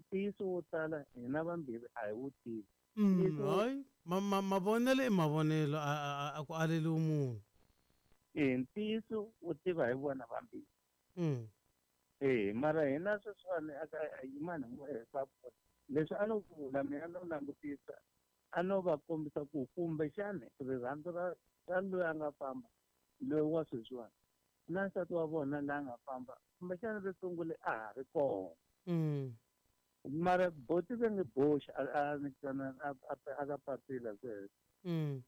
Ntiyiso wo tala hina vambirhi a hi wu tivi. Hayi, mavonelo i mavonelo, a ku aleliwi munhu. E ntiyiso wu tiva hi vona vambirhi. E mara hina sweswiwani aka yimani hi leswi a no vula mina no langutisa a no va kombisa ku kumbexani rirhandzu ra ra loyi a nga famba loyi wa sweswiwani na nsati wa vona la nga famba kumbexani ri sungule a ha ri kona. Mara boti va nge boxi a a ka papila sweswo.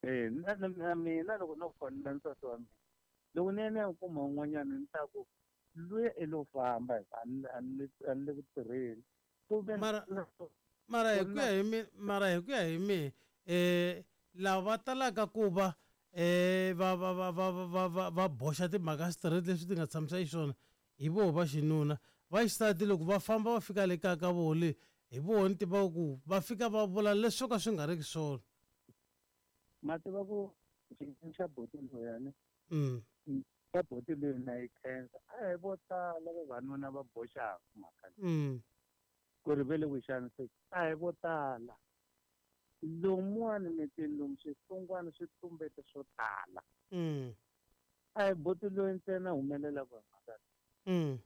E na mina loko no fonela nsati wa mina loko ni ya ni ya kuma un'wanyana ni ta ku luya i lo famba a ni le ku tirheni. Mara hi ku ya hi mina, mara hi ku ya hi mina lava va talaka ku va va va va va va va va boxa timhaka straight leswi ti nga tshamisa xiswona hi voho va xinuna. Va xisati loko va famba va fika le kaya ka voho le hi voho ni tivaka ku va fika va vula leswi swo ka swi nga riki swona. Ma tiva ku xiyimo xa boti loyani xa boti loyi na yi khensa a hi vo tala vavanuna va boxaka mhaka leyi. Ku ri ve le ku xaniseki a hi vo tala. Lomuwani mitini lomu swihlungwana swi tumbete swo tala. A hi boti loyi ntsena humelelaka hi mhaka leyi.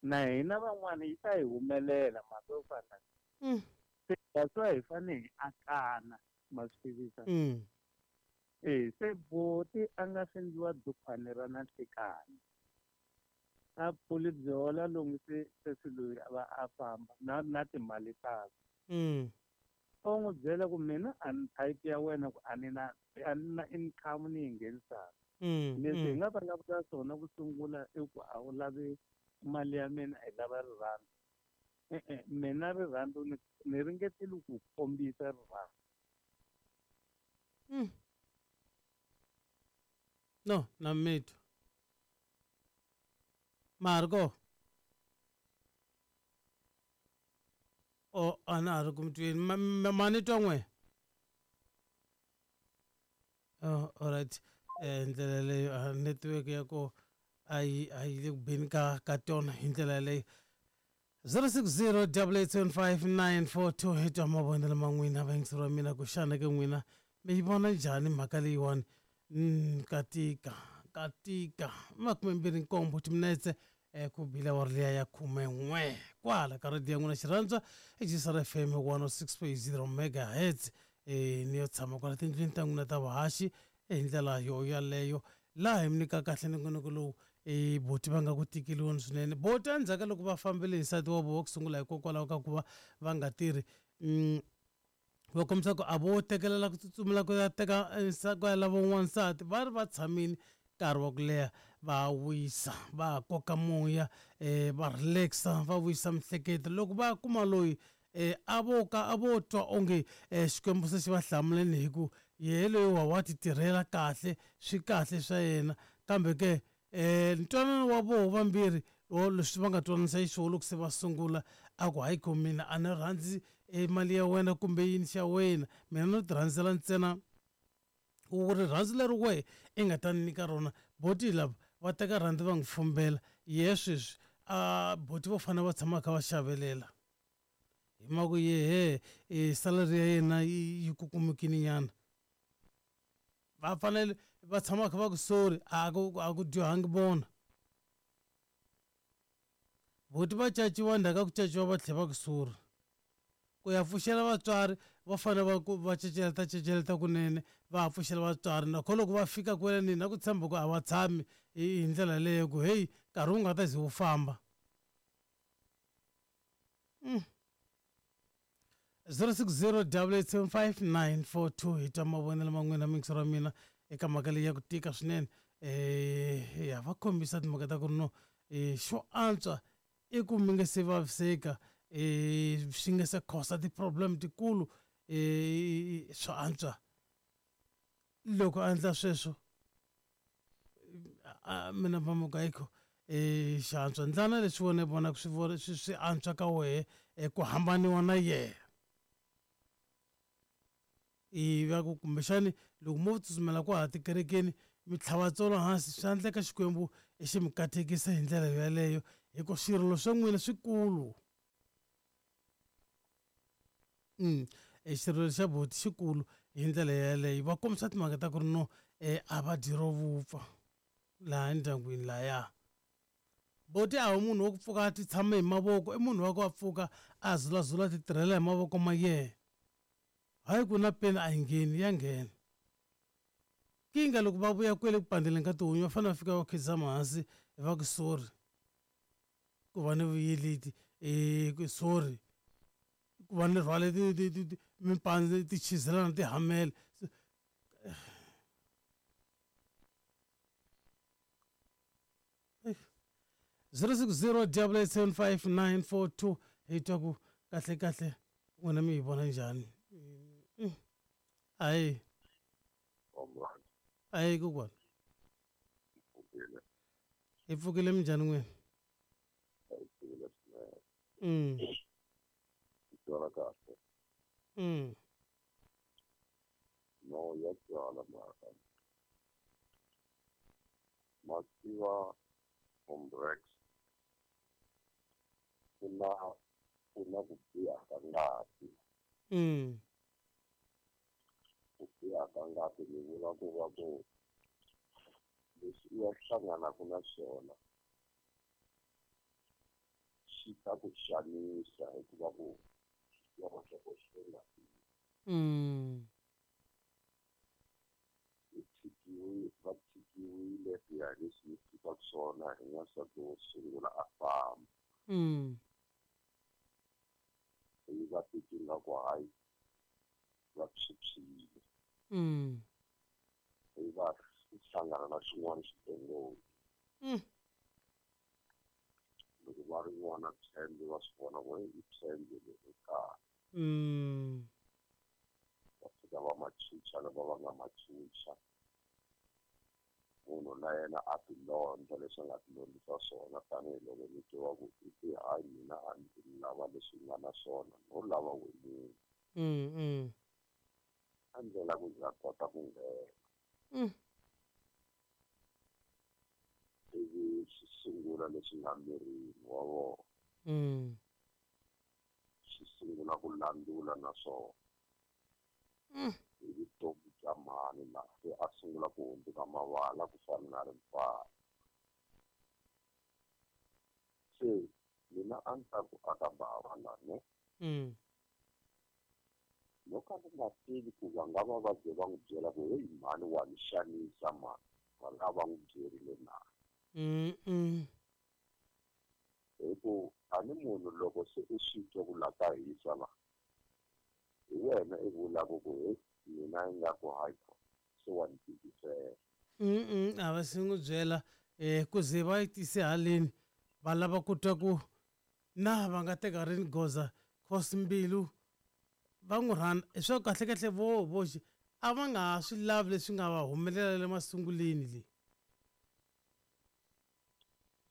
Na hina van'wana yi ta hi humelela mhaka yo fana. Se that's why hi fanele hi akana ma swi tivisa. E se boti a nga swi endliwa dukhwani ra na nhlikani. A phuli byola lomu se sesi loyi a va a famba na na timali takwe. O n'wi byela ku mina a ni type ya wena ku a ni na a ni na income ni yi nghenisaka. Leswi hi nga vulavula swona ku sungula i ku a wu lavi mali ya mina hi lava rirhandzu. E-e mina rirhandzu ni ni ringetile ku kombisa rirhandzu. No, na mitwa. Marco. O a na ha ri ku mi tweni. Ma ni twa n'we? Oh, alright. Ndlela leyo network ya ko a yi a yi le ku beni ka ka tona hi ndlela yaleyo. 060 875 hi twa mavonelo ma n'wina vayingiseri wa mina ku xana ke n'wina mi yi vona njhani mhaka leyiwani. Ka tika ka tika 27 timinetse ku bile awara liya ya 11 kwala ka radiyo ya n'wina xirhandzwa i FM 106.0 megahertz. Ni yo tshama kwala tindlwini ta n'wina ta vuhaxi hi ndlela yo yaleyo laha hi mi nyika kahle nongonoko lowu boti va nga ku tikeliweni swinene. Boti endzhaku ka loko va fambile hi nsati wa vona wa ku sungula hikokwalaho ka ku va va nga tirhi, va kombisa ku a vo tekelela ku tsutsumela ku ya teka ku ya lava un'wana nsati, va ri va tshamile nkarhi wa ku leha va wisa va koka moya va relaxa va vuyisa miehleketo. Loko va kuma loyi a vo ka a vo twa onge Xikwembu se xi va hlamuleni hi ku yehe loyi wa ti tirhela kahle swi kahle swa yena, kambe ke ntwanano wa voho vambirhi leswi va nga twananisa xiswona loko se va sungula a ku hayi ko mina a ni rhandzi mali ya wena kumbe yini xa wena, mina no ti rhandzela ntsena ku rirhandzu leri wehe i nga ta ni nyika rona. Boti lava va teka rhandzu va n'wi fumbela yehe sweswi a boti vo fanele va tshama kha va xavelela hi mhaka ku yehe salary ya yena yi kukumukile nyana, va fanele va tshama kha va ku sorry a ku a ku dyohangi vona. Boti va caciwa ndzhaku ka ku caciwa va tlhela va ku sorry. Ku ya pfuxela vatswari va fanele va ku va ceceleta ceceleta kunene va ha pfuxela vatswari, nakona loko va fika kwele ni na ku tshemba ku a va tshami hi ndlela leyo ku heyi nkarhi wu nga ta ze wu famba. 060 875 hi twa mavonelo ma n'wina muyingiseri wa mina eka mhaka leyi ya ku tika swinene. Ya va kombisa timhaka ta ku ri no xo antswa i ku mi nga se vaviseka swi nga se cause ti-problem tikulu swa antswa loko a endla sweswo mina va ayikho xi antswa ndlana leswi wena i vonaka swi swi swi antswa ka wehe ku hambaniwa na yena. Ivi ku kumbexani loko mo tsutsumela kwaha tikerekeni mi tlhava tsolo hansi swi endleka Xikwembu xi mi katekisa hi ndlela yeleyo hi ku swirilo swa n'wina swikulu. Xirilo xa buti xikulu hi ndlela yeleyo va kombisa timhaka ta ku ri no a va dyi ro vupfa laha endyangwini lahaya. Boti a hi munhu wa ku pfuka a ti tshama hi mavoko, i munhu wa ku a pfuka a zulazula a ti tirhela hi mavoko ma yena. Hayi ku na peni a yi ngheni, ya nghena. Kinga loko va vuya kwele ku pandeleni ka tihunyi va fanele va fika va khidzama hansi va ku sorry ku va ni vuyeleti sorry ku va ni rhwale mimpandze ti chizelana ti hamela. 060 875 942 hi twa ku kahle kahle n'wina mi yi vona njhani. Ayi ayi kokwana hi pfukile minjhani n'wina? No ya twala mhaka ma tiva Hombrex ku na ku biha ka ngati. Ku biha ka ngati ni vula ku va ku leswi u ya hlanganaka na swona xi ta ku xanisa hikuva ku xidyoho xi nga va tshikiwile ku ya hi leswi ni tivaka swona hi n'wansati wo sungula a famba. Ivi va titwa ingaku hayi va phyuphyile. Ivi va hlangana na xin'wana xidongodi. Loko va ri n'wana tshembe va swi vona ku i tshembe leri kahle. Va fika va machucha lava va nga machucha. Munhu na yena a ti londza leswi a nga ti londzisa swona tanihiloko ni twa ku i ti hayi mina a ndzi lava leswi nga na swona no lava wemunhu. A ndlela ku ndzi kota ku nghena. Ivi swi sungula leswi nga mirini wa vona. Swi sungula ku landzula na swona. Hi vutomi bya mhani laha se a sungula ku hundzuka mavala ku fana na rimpfana. Se mina a ni ta ku aka bava la ne. No ka ni nga tivi ku va nga va va ze va n'wi byela ku heyi mhani wa ni xanisa mhani, va nga va n'wi byerile na. Hi ku a ni munhu loko se u swi twa ku la ka hisa la hi wena i vulaka ku heyi mina ingaku hayi se wa ni tikisela. A va se n'wi byela ku ze va yi tise haleni va lava ku twa ku na va nga teka rini goza cause mbilu va n'wi rhandza hi swa kahle kahle vo voxe a va nga ha swi lavi leswi nga va humelela le masunguleni le.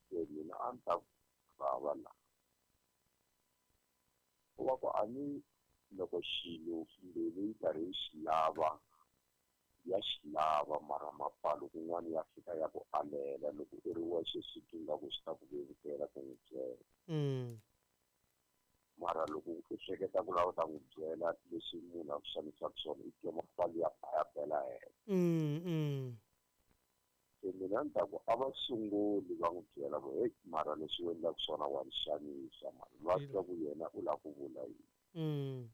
Se mina a ni ta vava la ku va ku a ni loko xilo mbilu yi karhi yi xi lava ya xi lava mara mapfalo kun'wana ya fika ya ku alela loko u ri wexe swi twa ingaku swi ta ku vevukela ku n'wi byela. Mara loko u hleketa ku lava u ta n'wi byela leswi munhu a ku xanisaka swona i twa mapfalo ya ba ya bela henhla. Se mina ni ta ku a va sunguli va n'wi byela ku heyi mara leswi u endlaka swona wa ni xanisa mara va twa ku yena u lava ku vula yini.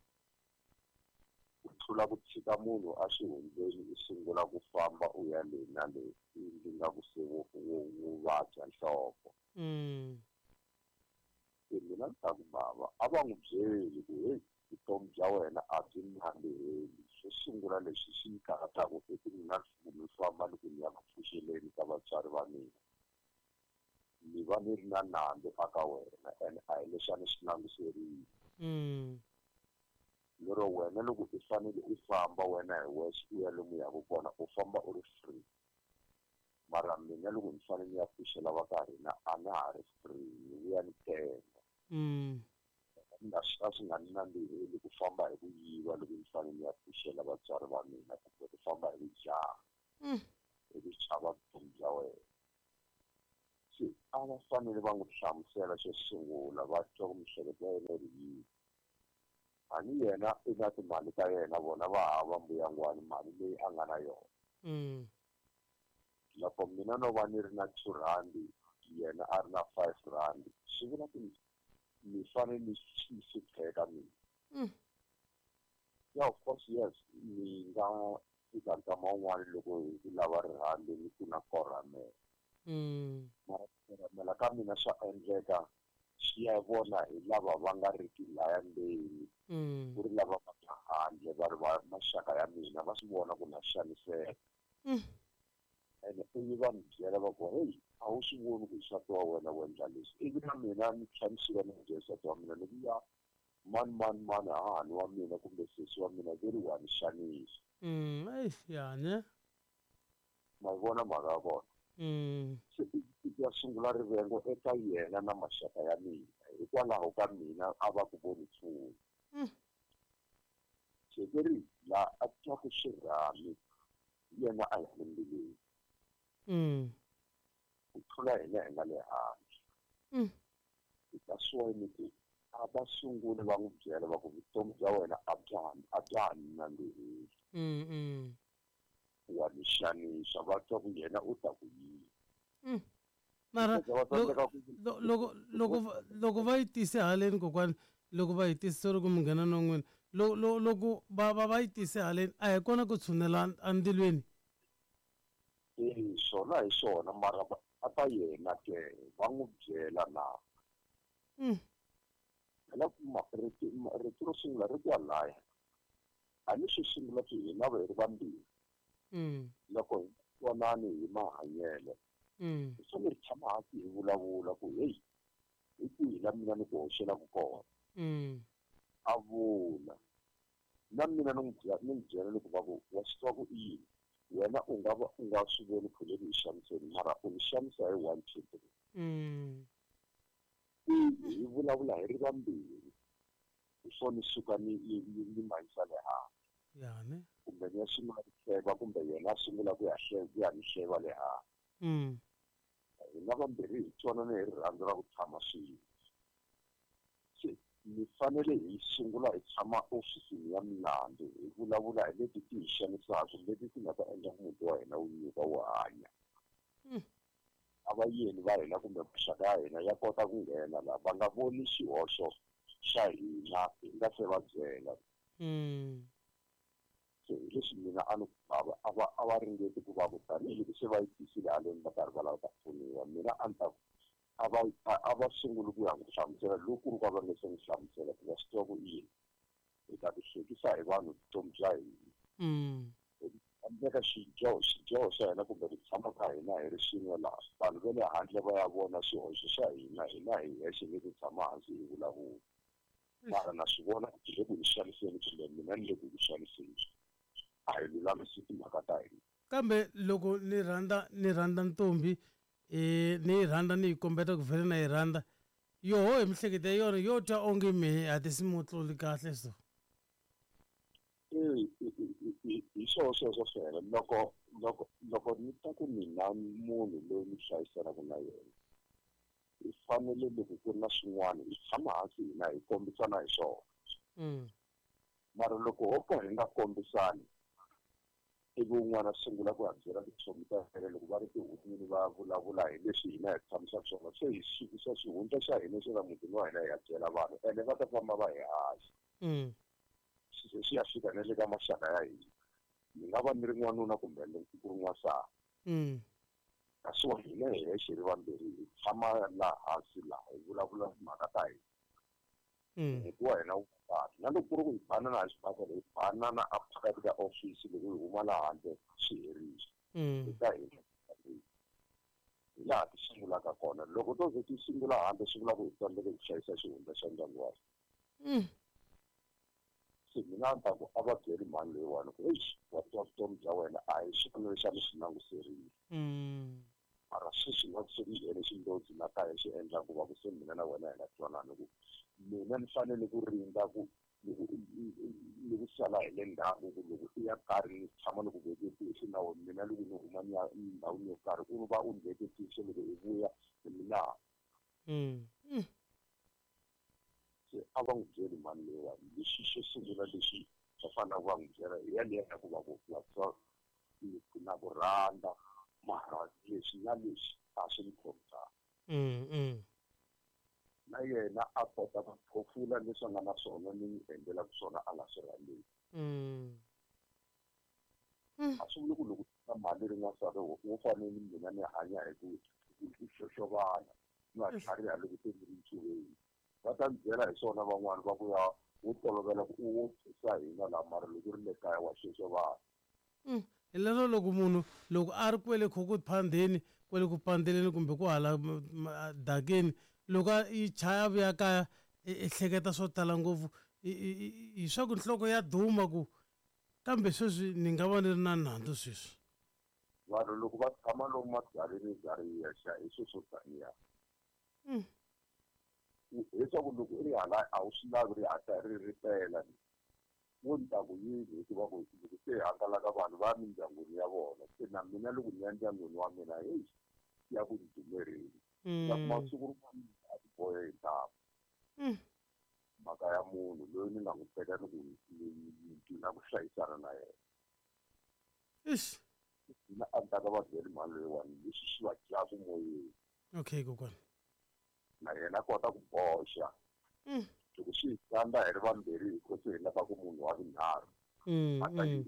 Ku tlula ku tshika munhu a xihundleni u sungula ku famba u ya le na le ndzi nga ku se wo vabya nhloko. Se mina ni ta ku bava a va n'wi byeli ku heyi vutomi bya wena a byi nandziheli. Xo sungula lexi xi ni karhataka i ku mina mi famba ni ku ni ya ku pfuxeleni ka vatswari va mina ni va ni ri na nandzu aka wena ene a hi leswi a ni swi languserile. Lero wena loko u fanele u famba wena hi wexe u ya lomu yaka kona u famba u ri free. Mara mina loko ni fanele ni ya pfuxela va ka hina a na ha ri free ni vuya ni tenga. A swi nga ni nandziheli ku famba hi ku yiva loko ni fanele ni ya pfuxela vatswari va mina kumbe ku famba hi ku jaha hi ku chava vutomi bya wena. Se a va fanele va n'wi hlamusela xo sungula va twa ku miehleketo ya yena yi ri yini. A ni yena i na timali ta yena vona va hava mbuyangwani mali leyi a nga na yona. Loko mina no va ni ri na 2 rand, yena a ri na 5 rand, swi vula ku ni fanele ni hlupheka mina. Yeah, of course, yes, ni nga fika nkama wun'wani loko hi ku lava rirhandzu ni ku na korhamela. Mara ku korhamela ka mina swa endleka swi ya vona hi lava va nga riki laya ndzeni, ku ri lava va nga handle va ri va maxaka ya mina va swi vona ku na xaniseka. Ene ivi va ni byela va ku hey, a wu swi voni ku nsati wa wena wu endla leswi, ivi na mina ni tlhela ni suka ni byela nsati wa mina ni ku ya mani mani mani hahani wa mina kumbe sesi wa mina ve ri wa ni xanisa. Ya ne? Ma yi vona mhaka ya kona? Se i ya sungula rivengo eka yena na maxaka ya mina hikwalaho ka mina a va ku voni nchumu. Se ve ri laha a twaku xirhami yena a hi le mbilwini. Ku tlula hina hi nga le handle. That's why ni ku a va sunguli va n'wi byela va ku vutomi bya wena a bya ha nandziheli. Wa ni xanisa, va twa ku yena u ta ku yini. Mara loko va yi tise haleni kokwani, loko va yi tise, sorry ku munghana na n'wina, loko va yi tise haleni a hi kona ku tshunela endzilweni. Swona hi swona, mara a ta yena ke va n'wi byela na. Phela rito ro sungula ri kwalaya. A ni xo sungula ku hina va hi ri vambirhi. Loko hi twanani hi mahanyelo, hi fanele hi tshama hansi hi vulavula ku hey, hi kwihi la mina ni ku hoxelaka kona. A vula na mina ni n'wi byela loko va ku wa swi tiva ku i yini, wena u nga va u nga swi voni ku le ku hi xaniseni, mara u ni xanisa hi 1 2 3. Hi vulavula hi ri vambirhi before ni suka ni mahisa le handle. Ya ne? Kumbe ni ya sungula ku hleva, kumbe yena a sungula ku ya hleva, ku ya ni hleva le handle. Hina vambirhi hi twanana hi rirhandzu ra ku tshama swin'we. Se ni fanele hi sungula hi tshama ofisini ya milandzu hi vulavula hi leti ti hi xanisaka, leti ti nga ta endla ku muti wa hina wu nyuka wu hanya. A va yeni va hina kumbe maxaka ya hina ya kota ku nghena laha va nga voni xihoxo xa hina hi nga se va byela. Se hi leswi mina a ni a va ringeti ku va ku tanihiloko se va yi tisile haleni va karhi va lava ta pfuniwa, mina a ni ta ku a va sunguli ku ya n'wi hlamusela loko ku ri ku a va nge se n'wi hlamusela ku va swi tiva ku i yini, hi ta ti hlekisa hi vanhu vutomi bya hina. Endleka xidyoho xa hina kumbe ku tshama ka hina hi ri swin'we laha vanhu va le handle va ya vona xihoxo xa hina, hina hi hexe ni ku tshama hansi hi vulavula. Mara na swi vona ku le ku hi xaniseni kumbe mina ni le ku ku xaniseni, a hi lulamisi timhaka ta hina. Kambe loko ni rhandza ntombi, ni yi rhandza ni yi kombeta ku vhele na yi rhandza, yoho hi mihleketo ya yona yo twa onge mehe a ti si mu tluli kahle so. Hi swona sweswo fela. Loko ni ta ku mina munhu loyi ni hlayiselaka na yena, hi fanele loko ku ri na swin'wana hi tshama hansi hina hi kombisana hi swona. Mara loko ho ka hi nga kombisani, ivi un'wana a sungula ku ya byela tichomi ta yena loko va ri tihun'wini va vulavula hi leswi hina hi tshamisaka swona, se hi sukisa xihundla xa hina xa la mutini wa hina hi ya byela vanhu, ene va ta famba va hi haxa. Se swi ya fika na le ka maxaka ya hina. Ni nga va ni ri n'wanuna kumbe ku ri n'wansati. Kasi wa hina hi hexe ri vambirhi hi tshama laha hansi laha hi vulavula timhaka ta hina. Muti wa hina wu kahle. Na loko ku ri ku hi banana hi xibakele, hi banana a phakathi ka ofisi loko hi huma laha handle swi herile. Eka hina hi laha ti sungulaka kona. Loko to ze ti sungula handle swi vula ku hi tsandzeke ku hlayisa xihundla xa ndyangu wa hina. Se mina a ni ta ku a va byeli mhani leyiwani ku eish, wa twa vutomi bya wena a hi xona lexi a ni swi languserile. Mara sweswi nga ku se ni nghene xindlodzi la kaya xi endla ku va ku se mina na wena hi nga twanani ku mina ni fanele ku rindza ku loko ni ku sala hi le ndzhaku ku loko i ya karhi ni tshama ni ku veke tihlo na wena, mina loko ni huma ni ya ndhawini yo karhi u va u ni veke tihlo loko i vuya mina. Se a va n'wi byeli mhani leyiwani lexi xo sungula lexi va faneleke va n'wi byela hi yaliya ya ku va ku vatswari na ku rhandza mara leswi na leswi a swi ni khomi kahle. Na yena a kota ku phofula leswi a nga na swona ni n'wi endlelaka swona a nga swi rhandzeki. A swi vuli ku loko na mali ri n'wansati wo fanele ni mina ni hanya hi ku xoxovana ni nga tlhariha loko se ni ri ncuveni. Va ta ni byela hi swona van'wani va ku ya wo tolovela ku u wo thusa hina laha mara loko ri le kaya wa xoxovana. Hi lero loko munhu loko a ri kwele kho ku phandeni kwele ku pandeleni kumbe ku hala dakeni loko a yi chaya a vuya kaya i hleketa swo tala ngopfu hi swa ku nhloko ya duma ku kambe sweswi ni nga va ni ri na nandzu sweswi. Vanhu loko va tshama lomu mabyaleni bya ri yexe hi swilo swo taniya. Leswaku loko i ri hala a wu swi lavi ri hatla ri ri pela wo ni ta ku yini hikuva ku loko se hangalaka vanhu va mindyangwini ya vona se na mina loko ni ya ndyangwini wa mina heyi ya ku ni dumerini. Ta kuma siku rin'wana a ti bohe hi ntamu. Mhaka ya munhu loyi ni nga n'wi teka ni ku ni na ku hlayisana na yena. Ish. Mina a ni ta ka va byeli mhani leyiwani leswi swi va dyaku moyeni. Okay kokwana. Na yena a kota ku boxa. Loko swi hi tsandza hi ri vambirhi hi ko se hi lava ku munhu wa vunharhu. A ta yi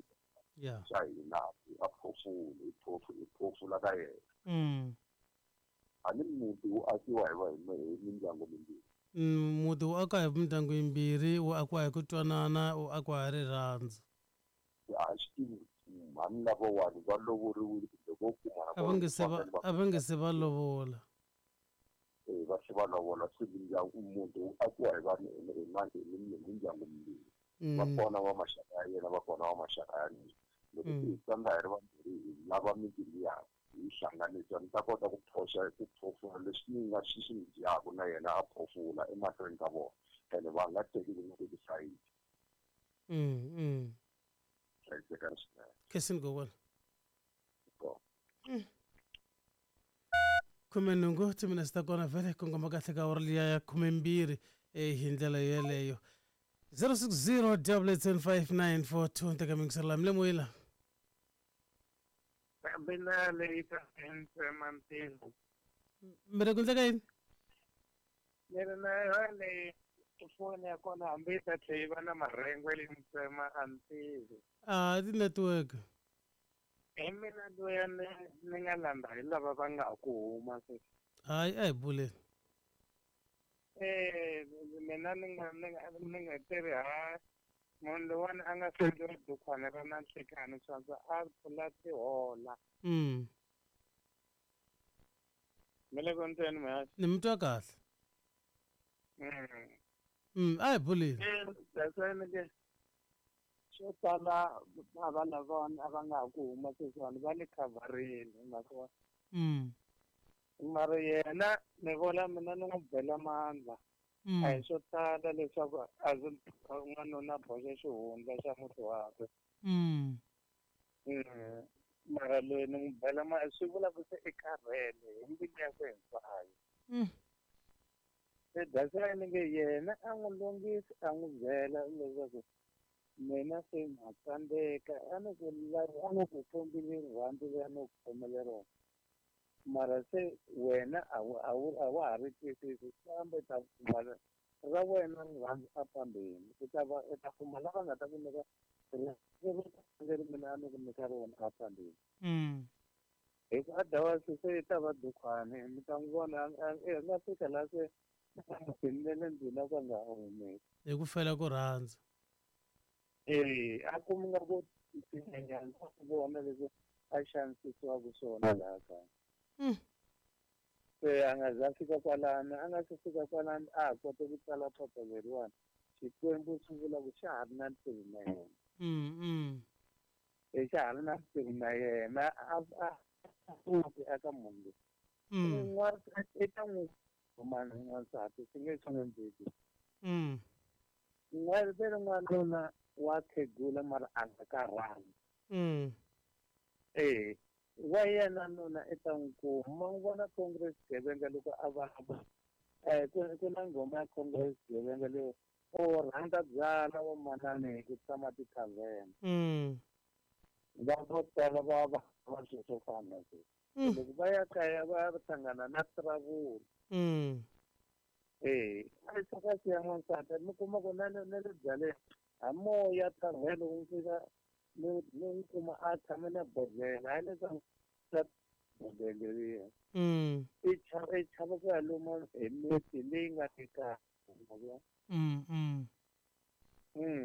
xa hina a phofula hi hi phofula ka yena. A ni muti wu akiwa hi va hi mindyangu mimbirhi. Muti wu akiwa hi mindyangu yimbirhi, wu akiwa hi ku twanana, wu akiwa hi rirhandzu. A swi tivi mhani lavawani va lovoriwile kumbe vo kumana A va nge se va lovola. Va se va lovola se mindyangu muti wu akiwa hi vanhu hi mindyangu mimbirhi. Va kona va maxaka ya yena va kona va maxaka ya mina. Loko hi tsandza hi ri vambirhi hi lava miti liya hi hlanganisa ni ta kota ku phoxa ku phofula leswi ni nga swi swi ni dyaku na yena a phofula emahlweni ka vona ene va nga teki ku nga teki sayiti. Hlayisekani swinene. Khensini kokwana. 18 timinetse ta kona vhele kongoma kahle ka awara liya ya 12 hi ndlela yeleyo. 060 875 teka mingiselo mi le moyeni la. Mina leyi ta ntsema ntirho. Mi ri ku endleka yini? Ni ri na yona leyi foni ya kona hambi yi ta tlhela yi va na marhengu leyi ntsema a ni tivi. A ti-network. Hi mina loyi ni nga landza hi lava va nga ha ku huma sweswi. Hayi a hi buleni. Mina ni nga tirhi ha munhu lowani a nga sendliwa dukhwana ra na nhlekani swandza a pfula tihola. Mi le ku ndzeni mhaxi? Ni mi twa kahle. A hi buleni. That's why ni nge swo tala a va lavawani a va nga ha ku huma sweswiwani va le khavharini mhaka wa. Mara yena ni vona mina ni n'wi bela mandla. A hi swo tala leswaku a ndzi n'wanuna boxa xihundla xa muti wakwe. Mara loyi ni n'wi bela swi vula ku se i karhele hi mbilu yakwe hinkwayo. Se that's why ni nge yena a n'wi lunghisi a n'wi byela leswaku mina se na tsandzeka a ni ku a ni ku kombile rirhandzu leri a ni ku khomele rona. Mara se wena a wa ha ri twisisi kambe ta kuma ra wena rirhandzu a fambeni u ta va u ta kuma lava nga ta ku nyika leri mina a ni ku nyika rona a fambeni. Hi ku otherwise se i ta va dukhwani mi ta n'wi vona a nga fika laha se nghenile ndlwini a ku a nga ha humeki. Hi ku fela ku rhandza. A kumi nga ku tinyenyana ku vona leswi a xanisisiwaka swona laha kaya. Se a nga za fika kwalano a nga se fika kwalano a ha kota ku tsala phepha leriwani Xikwembu swi vula ku xa ha ri na ntirho na yena. Xa ha ri na ntirho na yena a pfuki eka munhu loyi. Un'wana i ta n'wi kumana n'wansati swi nge swi endleki. N'wana ve ri n'wanuna wa khegula mara a nga karhali. Wa yena nuna i ta n'wi kuma. Ma n'wi vona Congress gevenga loko a va Ku na nghoma ya Khongo ya xigevenga leyo u rhandza byala vo manani hi ku tshama tithavheni. Va vo tala va va va swilo swo fana na sweswo. Loko va ya kaya va ya hlangana na trouble. A yi tsaka siya n'wansati mi kuma ku na na le byaleni ha moya thavheni loko mi fika mi n'wi kuma a tshame na bodlhela hayi leswaku bodlhela leriya. I chava ku ya luma hi miti leyi nga le kaya.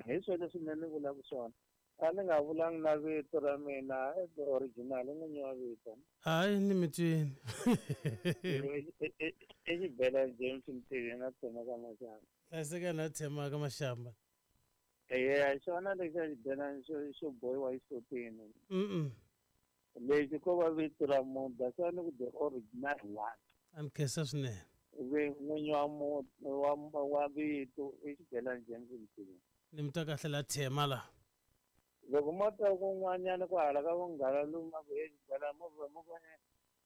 Hi swona leswi mina ni vulaka swona. A ni nga vulangi na vito ra mina original n'winyi wa vito. Hayi ni mi twini. I Xibelani James Mtivi na Thema ka Mashamba. Hlayiseka na Thema ka Mashamba. Eya xona lexi xa xibelani xo bohiwa xisutini. Lexi ko va vito ra munhu that's why ni ku the original one. A ni khensa swinene. N'winyi wa vito i Xibelani James Mtivi. Ni mi twa kahle la Thema la. Loko mo twa kun'wanyana ku hala ka vunghana luma ku he Xibelani mo va mo ku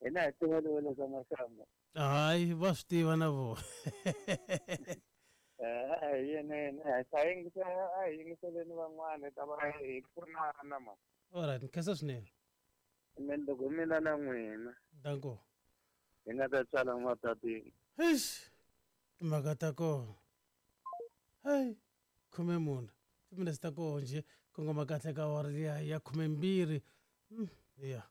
hina hi tiva le ka Mashamba. Hayi va swi tiva na vona. Hi yenene a hi yingiseleni van'wana hi ta va hi pfunana ma. Alright, ni khensa swinene. Mina loko mina na n'wina. Danko. Hi nga ta tsala mapapila. Eish. Timhaka ta kona. Hey, 14. Timinetse ta koho njhe kongoma kahle ka awara liya ya 12. Ya.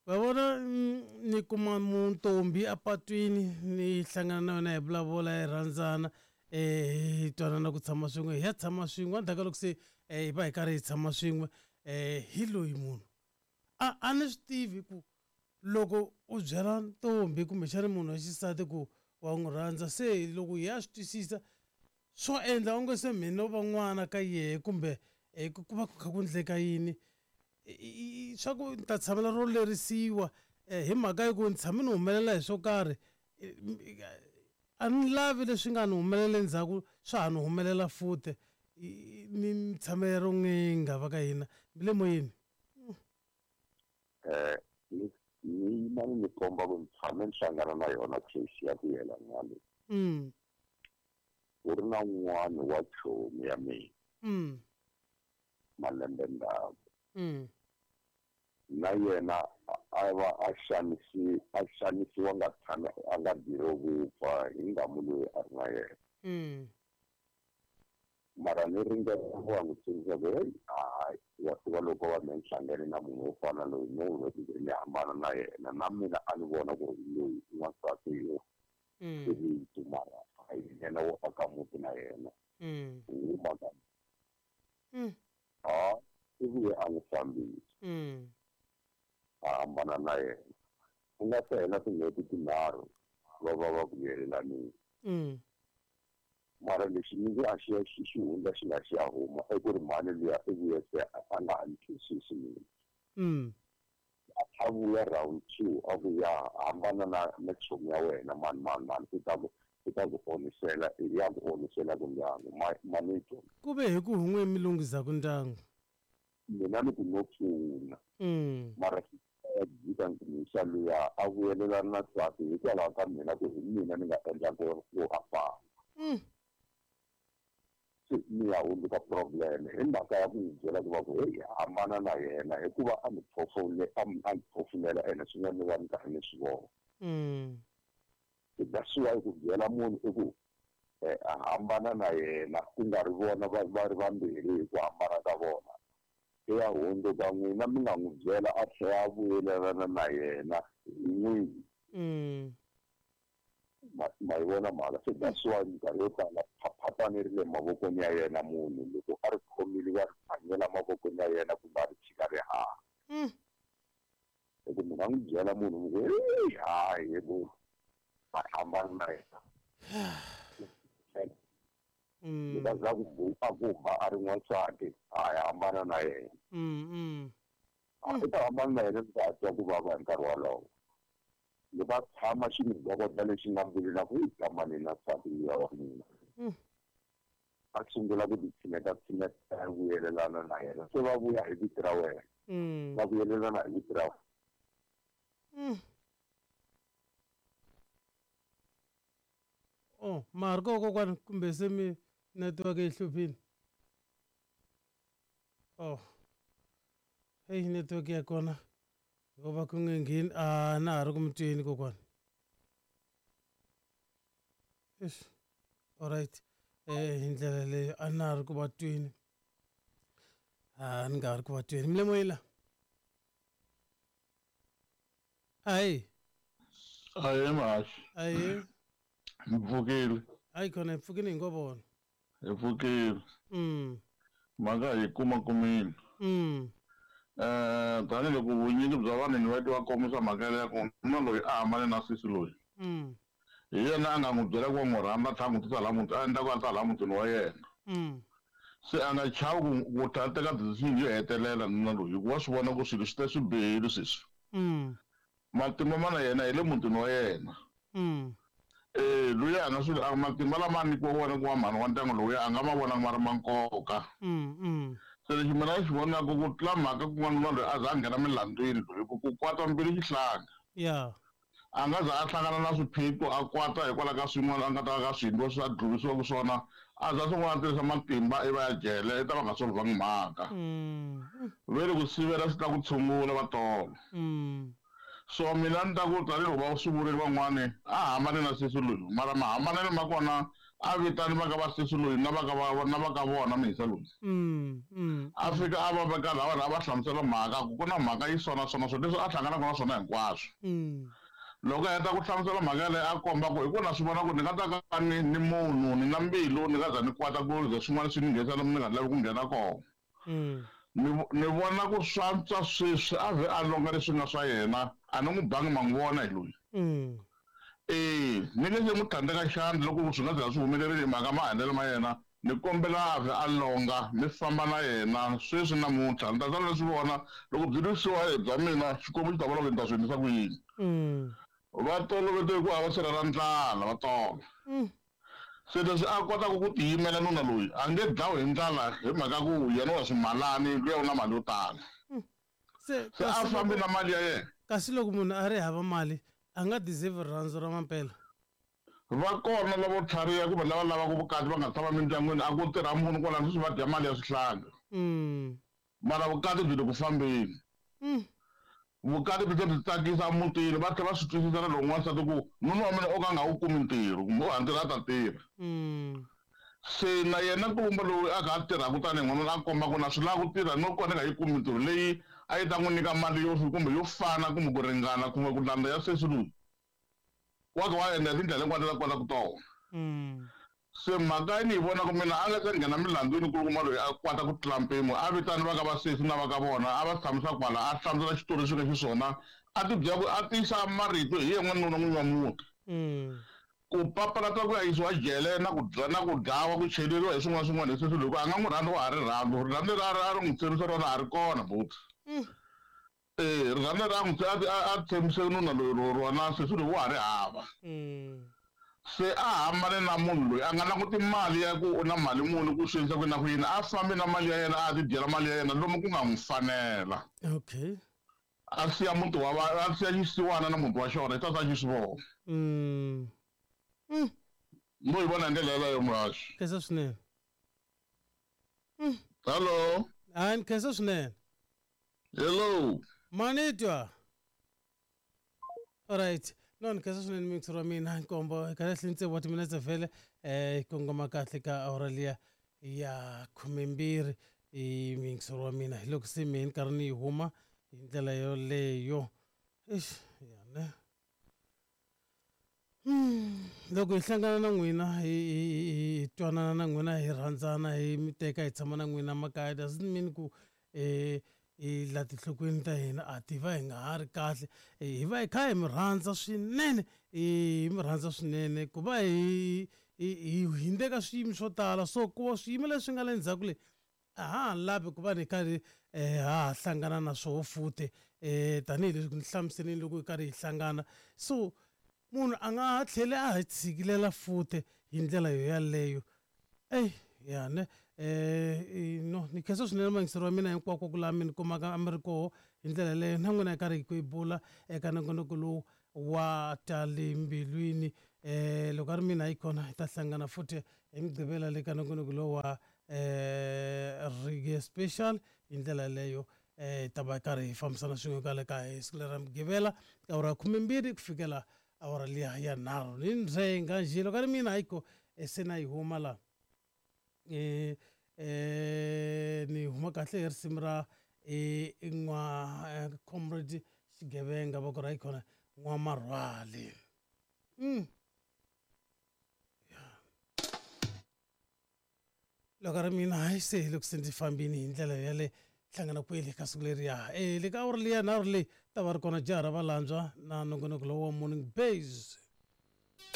Va vona ni kuma muntombi apatwini ni hlangana na yona hi vulavula hi rhandzana hi twanana ku tshama swin'we hi ya tshama swin'we endzhaku ka loko se hi va hi karhi hi tshama swin'we hi loyi munhu a ni swi tivi ku loko u byela ntombi kumbexana munhu wa xisati ku wa n'wi rhandza se loko hi ya swi twisisa swo endla onge se mina va n'wana ka yehe kumbe ku va ku kha ku endleka yini swa ku ni ta tshamela ro lerisiwa hi mhaka ya ku ni tshame ni humelela hi swo karhi a ni lavi leswi nga ni humelela endzhaku swa ha ni humelela futhi ni tshamela ro n'inga va ka hina mi le moyeni. Ni yima ni komba ku ni tshame ni hlangana na yona case ya ku yelana na leyi. Ku ri na un'wana wa chomi ya mina. Malembe ndzhaku. Na yena a va a xanisiwa nga tshami a nga biro vupfa hi ngamu loyi a ri na yena. Mara ni ringeta ku va n'wi tsundzuxa ku heyi hayi wa tiva loko va me ni hlangane na munhu wo fana loyi no n'hweti ni hambana na yena na mina a ni vona ku ri loyi i n'wansati yo i vito mara a hi yena wo aka muti na yena. Huma ka a i vuye a n'wi fambisa. A hambana na yena. Ku nga se hela tin'hweti tinharhu va va va vuyelelanile. Mara lexi ni nge a xi ya xi hundza xi nga xi ya huma i ku ri mhani luya i vuye se a nga ha ni twisisi mina. A vuya round 2 a ku ya hambana na chomi ya wena mani mani mani i ta ku onisela ya ku onisela ku ndyangu mani twa. Ku ve hi ku hun'we mi lunghisaku ndyangu. Mina ni ku no pfuna. Mara jika ndzi luya a vuyelelana na nsati hikwalaho ka mina ku hi mina ni nga endla ku a famba. Se ni ya hundzuka problem hi mhaka ya ku n'wi byela ku va ku heyi hambana na yena hikuva a ni phofulela ene swin'wana ni va ni karhi ni swi vona. That's why ku byela munhu i ku a hambana na yena ku nga ri vona va ri vambirhi hi ku hambana ka vona. Ya hundzuka n'wina mi nga n'wi byela a tlhela a vuyelelana na yena hi n'wini. Ma yi vona mhaka se that's why minkarhi yo tala phaphapani ri le mavokweni ya yena munhu loko a ri khomile va ri phanyela mavokweni ya yena kumbe a ri tshika ri haha. Loko munhu a n'wi byela munhu mi ku heyi hayi bo a hambana na yena. Loko a za ku a ku ba a ri n'wansati a ya hambana na yena. I ta hambana na yena loko a twa ku vava hi nkarhi wolowo. Loko a tshama xi n'wi dokota lexi nga mbilwini a ku yi tsamani na nsati luya wa mina. A sungula ku ti tshineta tshineta vuyelelana na yena se va vuya hi vito ra wena. Va vuyelelana hi vito ra wena. Oh, ma ha ri kona kokwani kumbe se mi network yi hluphile? Oh. Hey, network ya kona yo va ku nge ngheni, a na ha ri ku mi tweni kokwani. Eish. Alright. Hi ndlela leyo a na ha ri ku va tweni. A ni nga ha ri ku va tweni. Mi le moyeni la? Ayi. Aye mhaxi. Ayi. Mi pfukile. Ayi khona hi pfukile hi ngo vona. Hi pfukile. Mhaka hi kuma kumile. Tanihiloko vunyingi bya vanhu ni va twa kombisa mhaka ya ku nuna loyi a hambane na sesi loyi. Hi yena a nga n'wi byela ku wa n'wi rhamba a tlhela a n'wi tisa laha muti a endla ku a ta laha mutini wa yena. Se a nga chavi ku ku ta teka decision yo hetelela nuna loyi hikuva wa swi vona ku swilo swi ta swi bihile sweswi. Matimba ma na yena hi le mutini wa yena. Eh luya a nga swi matimba lama a nyikiwa wona ku va mhani wa ndyangu lowuya a nga ma vonanga ma ri ma nkoka. Se lexi mina ni xi vonaka ku tlula mhaka ku n'wanuna loyi a za a nghena milandzwini loyi ku ku kwata mbilu xihlanga. A nga za a hlangana na swiphiqo a kwata hikwalaho ka swin'wana a nga ta ka swi endliwa swi a dluvisiwaka swona a za swin'wana a tirhisa matimba ivi a ya jele i ta va nga solvhangi mhaka. Ve ri ku sivela swi ta ku tshungula va tolo. So mina ni ta ku tanihiloko va swi vurile van'wani a hambane na sesi loyi mara mahambanelo ma kona a vitani va ka va sesi loyi na va ka va na va ka vona muyisa loyi. A fika a va veka laha vanhu a va hlamusela mhaka ku ku na mhaka yi so na so na so leswi a hlanganaka na swona hinkwaswo. Loko a heta ku hlamusela mhaka yaleyo a komba ku hi ku na swi vona ku ni nga ta ka ni ni munhu ni na mbilu ni nga za ni kwata ku ze swin'wana swi ni nghenisa lomu ni nga lavi ku nghena kona. Ni ni vona ku swantswa sweswi a vhe a longa leswi nga swa yena a ni n'wi bangi ma n'wi vona hi loyi. E ni nge se n'wi tlhandleka xandla loko swi nga za swi humelerile hi mhaka maendlelo ma yena ni kombela a vhe a longa mi famba na yena sweswi namuntlha ni ta sala ni swi vona loko byi lwisiwa hi bya mina Xikwembu xi ta vona ku ni ta swi endlisa ku yini. Va tolovete ku hava sirha ra ndlala va tolo. Se leswi a kotaka ku tiyimela nuna loyi a nge dlawi hi ndlala hi mhaka ku yena wa swimalani luya u na mali yo tala. Se Se a kasi fambi loko na mali ya yena. kasi loko munhu a ri hava mali a nga deserve rirhandzu ra mampela. Va kona lavo tlhariha kumbe lava lavaka vukati va nga tshama mindyangwini a ku tirha munhu kwalano sweswi va dya mali ya swihlanga. Mara vukati byi le ku fambeni. Vukati byi tlhela byi tsakisa emutini va tlhela va swi twisisa na loko n'wansati ku nuna wa mina o ka a nga wu kumi ntirho kumbe o ha ntirho a ta tirha. Se na yena nkulumba loyi a kha a tirhaka tanihi n'wanuna a komba ku na swi lava ku tirha no ka ni nga yi kumi mintirho leyi a yi ta n'wi nyika mali yo kumbe yo fana kumbe ku ringana kumbe ku landza ya sesi loyi wa ka wa endla hi tindlela hinkwato ta kotaka tona. Se mhaka ni yi vona ku mina a nga se nghena milandzwini nkulukumba loyi a kwata ku tlula mpimo a vitani va ka va sesi na va ka vona a va tshamisa kwala a hlamusela xitori lexi nga xiswona a ti byela ku a tiyisa marito hi yena n'wanuna n'winyi wa muti. Ku papalata ku ya yisiwa jele na ku na ku dlawa ku cheleriwa hi swin'wana swin'wana hi sesi loyi ku a nga n'wi rhandzi wa ha ri rhandzu rirhandzu leri a ri a ri n'wi tshembisa rona a ri kona buti. E rirhandzu leri a n'wi a a tshembise nuna loyi rona sesi loyi wa ha ri hava. Se a hambane na munhu loyi a nga languti mali ya ku u na mali muni ku swi endlisa ku yini na ku yini a fambi na mali ya yena a ya ti dyela mali ya yena lomu ku nga n'wi fanela. A siya muti wa va a siya xisiwana na muti wa xona xi ta sala xi swi vona. Mo yi vona hi ndlela yeleyo muhaxi. Khensa swinene. Hello. Hayi ni khensa swinene. Hello. Manitwa. Alright. No ni khensa swinene mixer wa mina nkombo kahle hle tsevu wa timinetse vhele yi kongoma kahle ka awara liya ya khumembirhi i mixer wa mina hi loko se mehe ni karhi ni yi huma hi ndlela yoleyo eish ya ne loko hi hlangana na n'wina hi twanana na n'wina hi rhandzana hi mi teka hi tshama na n'wina makaya doesn't mean ku hi la tinhlokweni ta hina a ti va hi nga ha ri kahle hi va hi kha hi mi rhandza swinene hi mi rhandza swinene ku va hi hi hindze ka swiyimo swo tala so ku va swiyimo leswi nga le ndzhaku le a ha ha lavi ku va ni karhi ha ha hlangana na swoho futhi tanihileswi ni hlamuseleni loko hi karhi hi hlangana so munhu a nga ha tlheli a ha tshikilela futhi hi ndlela yo yaleyo eyi ya ne no ni khensa swinene mayingiseri wa mina hinkwako ku laha mi ni kumaka a mi ri koho hi ndlela yaleyo na n'wina hi karhi hi ku yi bula eka nongonoko lowu wa ta le mbilwini. Loko a ri mina yi kona hi ta hlangana futhi hi Mugqivela le ka nongonoko lowu wa Reggae Special. Hi ndlela yaleyo hi ta va karhi hi fambisana swin'we kwale ka hi siku leri ra Mugqivela ka awara ya 12 ku fikela awara liya ya 3 ni ndzhenga njhe. Loko a ri mina hayiko se na yi huma la ni huma kahle hi risimu ra n'wa Comrade Xigevenga va ku ra yi khona N'wamarhwali. Loko ri mina hayi se hi loko se ndzi fambini hi ndlela yale hlangana kwele ka siku leriya le ka awara liya nharhu leyi ta va ri kona jaha ra valandzwa na nongonoko lowu wa Morning Base.